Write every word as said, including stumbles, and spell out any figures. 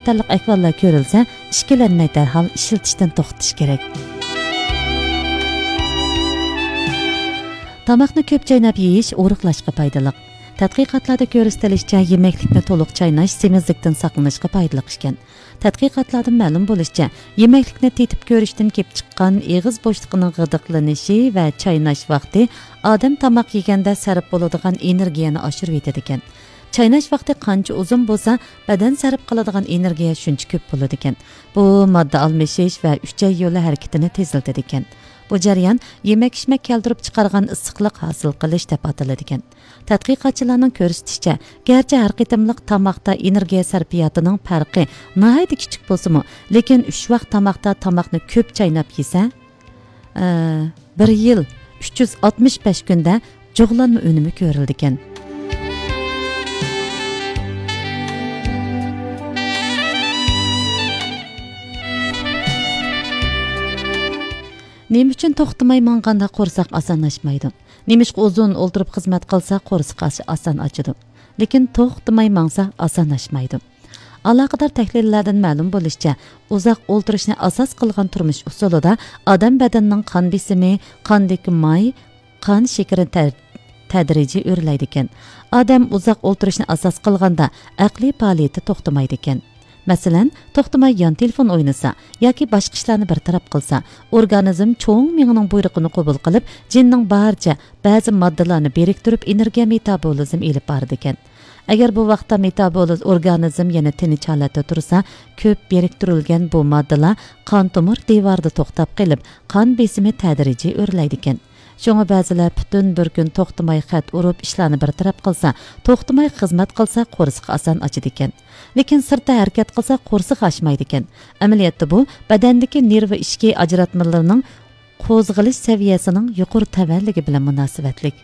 قاتارلىق ئەھۋاللار كۆرۈلسە، ئىككىلەنمەي دەرھال ئىشلىتىشتىن توختىتىش كېرەك. تاماقنى كۆپ چايناپ يېيىش ئورۇقلاشقا پايدىلىق. تەتقىقاتلاردا كۆرسىتىلىشىچە، يېمەكلىكنى تولۇق چايناش سېمىزلىكتىن ساقلىنىشقا پايدىلىق ئىكەن. تەتقىقاتلاردىن مەلۇم بولۇشىچە، يېمەكلىكنى تېتىپ كۆرۈشتىن كېلىپ چىققان ئېغىز بوشلۇقىنىڭ غىدىقلىنىشى ۋە چايناش ۋاقتى ئادەم تاماق يېگەندە سەرپ بولىدىغان ئېنېرگىيەنى ئاشۇرۇۋېتىدىكەن. چايناش ۋاقتى قانچە ئۇزۇن بولسا، بەدەن سەرپ قىلىدىغان ئېنېرگىيە شۇنچە كۆپ بولىدىكەن. بۇ ماددا ئالمىشىش ۋە ئۈچەي يولى ھەرىكىتىنى تېزلىتىدىكەن. بۇ جەريان يېمەك-ئىچمەك كەلتۈرۈپ چىقارغان ئىسسىقلىق ھاسىل قىلىش دەپ ئاتىلىدىكەن. تەتقىقاتچىلارنىڭ كۆرسىتىشىچە، گەرچە ھەر قېتىملىق تاماقتا ئېنېرگىيە سەرپىياتىنىڭ پەرقى ناھايىتى كىچىك بولسىمۇ، لېكىن ئۈچ ۋاق تاماقتا تاماقنى كۆپ چايناپ يېسە، ئە، بىر يىل ئۈچ يۈز ئاتمىش بەش كۈندە جۇغلانما ئۈنۈمى كۆرۈلىدىكەن. نېمە ئۈچۈن توختىماي ماڭغاندا قورساق ئاسان ئاچمايدۇ؟ نېمىشقا ئۇزۇن ئولتۇرۇپ خىزمەت قىلسا قورسىقى ئاس-، ئاسان ئاچىدۇ، لېكىن توختىماي ماڭسا ئاسان ئاچمايدۇ؟ ئالاقىدار تەھلىللەردىن مەلۇم بولۇشىچە، ئۇزاق ئولتۇرۇشنى ئاساس قىلغان تۇرمۇش ئۇسۇلىدا ئادەم بەدىنىنىڭ قان بېسىمى، قاندىكى ماي، قان شېكىرى تە-، تەدرىجىي ئۆرلەيدىكەن. ئادەم ئۇزاق ئولتۇرۇشنى ئاساس قىلغاندا ئەقلىي پائالىيىتى توختىمايدىكەن. مەسىلەن، توختىماي يان تېلېفون ئوينىسا ياكى باشقا ئىشلارنى بىر تەرەپ قىلسا، ئورگانىزم چوڭ مېڭىنىڭ بۇيرۇقىنى قوبۇل قىلىپ، جىننىڭ بارىچە بەزى ماددىلارنى بىرىكتۈرۈپ، ئېنېرگىيە مېتابولىزم ئېلىپ بارىدىكەن. ئەگەر بۇ ۋاقىتتا مېتابولىز ئورگانىزم يەنە تىنچ ھالەتتە تۇرسا، كۆپ بىرىكتۈرۈلگەن بۇ ماددىلار قان تومۇر دىۋارىدا توختاپ قېلىپ، قان بېسىمى تەدرىجىي ئۆرلەيدىكەن. شۇڭا بەزىلەر پۈتۈن بىر كۈن توختىماي خەت ئۇرۇپ، ئىشلارنى بىر تەرەپ قىلسا، توختىماي خىزمەت قىلسا، قورسىقى ئاسان ئاچىدىكەن. لېكىن سىرتتا ھەرىكەت قىلسا، قورسىقى ئاچمايدىكەن. ئەمەلىيەتتە بۇ بەدەندىكى نېرۋا ئىچكى ئاجراتمىلىرىنىڭ قوزغىلىش سەۋىيەسىنىڭ يۇقىرى تەۋەلىكى بىلەن مۇناسىۋەتلىك.